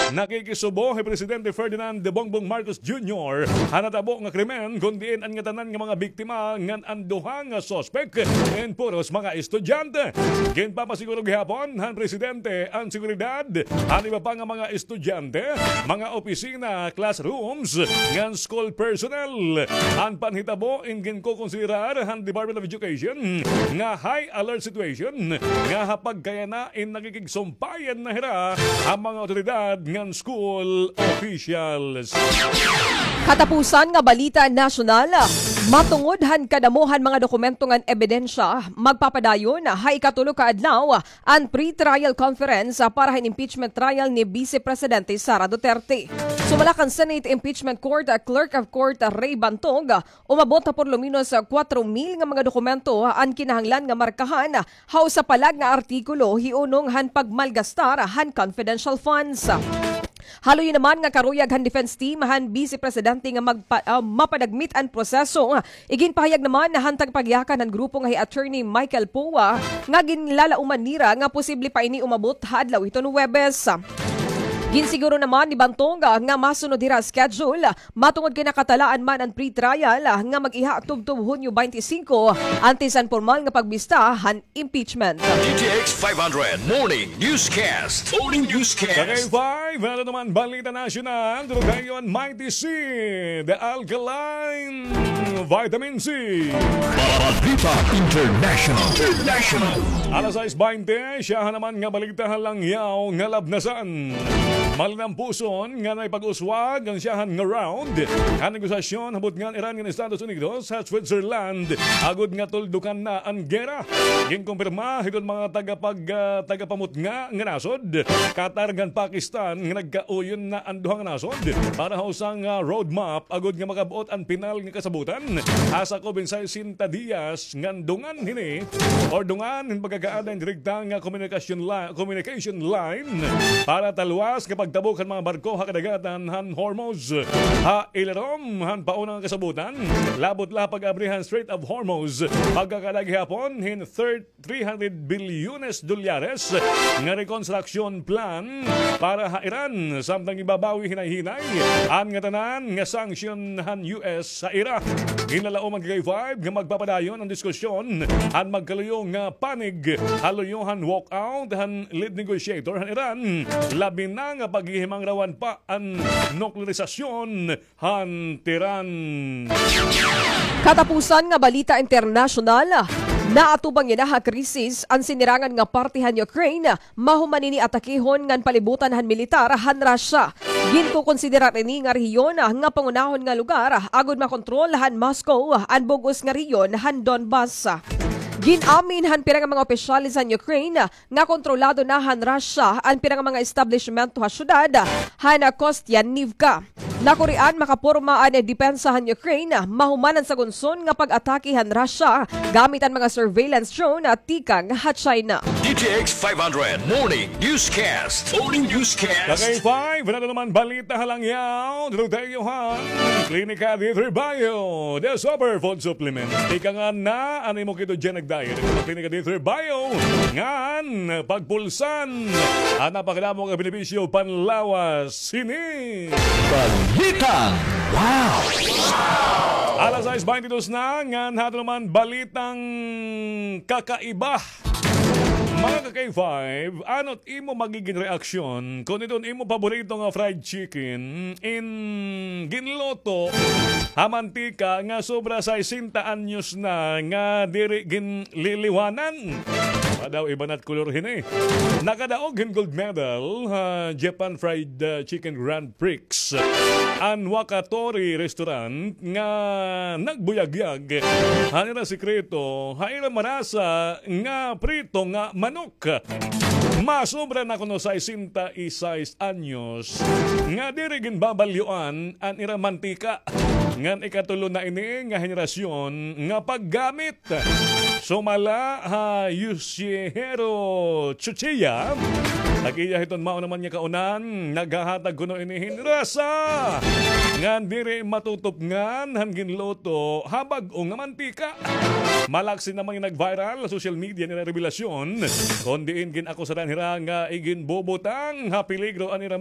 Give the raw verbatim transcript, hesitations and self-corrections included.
Nakikisubo hi Presidente Ferdinand Bongbong Marcos Junior ha natabo nga krimen, kon diin an ngatanan nga mga biktima ngan an duha nga suspek in puros mga estudyante. Ginpapasiguro gihapon han presidente an seguridad han iba pa nga mga estudyante, mga opisina, classrooms ngan school personnel. An panhitabo in ginkokonsiderar han Department of Education nga high alert situation nga ha pagkayana in nakikigsumpayan na hira ha mga awtoridad ngan school officials. Katapusan nga balita nasyonal, matungod han kadamo han mga dokumento ngan ebidensya, magpapadayon ha ikatulo ka adlaw an pre-trial conference para han impeachment trial ni Vice Presidente Sara Duterte. Sumala kan Senate Impeachment Court Clerk of Court Ray Bantog, umabot ha por lo menos kwatro mil nga mga dokumento an kinahanglan nga markahan ha usa pa la nga artikulo hiunong han pagmalgastar han confidential funds. Haluyon naman nga karuyag han defense team han Vice Presidente nga magpa-, ah, mapadagmit an proseso. Iginpahayag naman han tagapagyakan han grupo nga hi Attorney Michael Poa nga ginlalauman nira nga posible pa ini umabot ha adlaw hiton Huwebes. Ginsiguro naman ni Bantog nga masunod hira schedule matungod kay nakatalaan man an pre-trial nga mag-iha tubtob Hunyo twenty-five, antes an pormal nga pagbista han impeachment. D T X five hundred Morning Newscast. Morning Newscast. Sa K five, ano naman balita nasyonal? Durugayon, Mighty C, The Alkaline Vitamin C. Balita International. International. Alas sais baynte, siyahan naman nga balita ha langyaw nga labnasan. Malinampuson nga naipag-uswag an siyahan nga round han negosasyon ha butnga han Iran ngan Estados Unidos ha Switzerland, agod nga tuldukan na an gera. Ginkumpirma hiton mga tagapag-, ah, tagapamutnga nga nasod, Qatar ngan Pakistan, nga nagkauyon na an duha nga nasod para ha usa nga roadmap agod nga makab-ot an pinal nga kasabotan ha sakob hin sesenta diyas ngan dungan hini, or dungan hin pagkakaada hin direkta nga komunikasyon li-, communication line para talwas nga pagtabok han mga barko ha kadagatan han Hormuz. Ha ilarom han pauna nga kasabotan, labot la ha pag-abri han Strait of Hormuz, pagkakaada gihapon hin third three hundred bilyones dolyares nga rekonstruksyon plan para ha Iran, samtang ibabawi hinay-hinay an ngatanan nga sanction han U S ha ira. Ginlalauman ka K five nga magpapadayon an diskusyon han magkaluyo nga panig ha luyo han walkout han lead negotiator han Iran, labi na nga paghihimangrawan pa an nuklearisasyon han Tehran. Katapusan nga balita internasyonal, naatubang yana ha krisis an sinirangan nga parte han Ukraine, mahuman ini atakehon ngan palibutan han militar han Russia. Ginkokonsiderar ini nga rehiyon nga pangunahon nga lugar agod makontrol han Moscow an bug-os nga rehiyon han Donbas. Gin-amin han pira nga mga opisyales han Ukraine nga kontrolado na han Russia an pira nga mga establishmento ha syudad han Kostyantynivka. Nakurian makaporma an depensa han Ukraine mahuman an sagunson nga pag-atake han Russia gamit an mga surveillance drone tikang ha China. D T X five hundred Morning Newscast. Morning Newscast. Sa K five, ano naman balita ha langyaw? Dito tayo ha Klinika D three Bio, the super food supplement. Ika nga na, ano mo kito dyan nagdayag? Klinika D three Bio, ngan pagpulsan an napakadamo nga benepisyo panlawas. Sini Balitang Wow! Alas sais baynte dos na, ngan hato naman balitang kakaiba. Mga ka-K five, ano't imo magigin reaksyon kon iton imo paborito nga fried chicken in ginluto ha mantika nga sobra sesenta anyos na nga diri ginliliwanan? Wa daw iba na't kolor hini. Nakadaog hin gold medal ha Japan Fried, uh, Chicken Grand Prix an Wakatori Restaurant nga nagbuyagyag han ira sekreto ha ira marasa nga prito nga manok. Masobra na kuno sesenta y seis anyos nga diri ginbabalyoan an ira mantika. Ngan ikatulo na ini nga henerasyon nga paggamit. Sumala ha Yoshihiro Tsuchiya, tag-iya hiton mao naman nga kaunan, naghahatag kuno ini hin rasa ngan diri matutupngan han ginluto ha bag-o nga mantika. Malaksi naman nga nag-viral ha social media an ira rebelasyon, kon diin gin-akusaran hira nga iginbubutang ha peligro an ira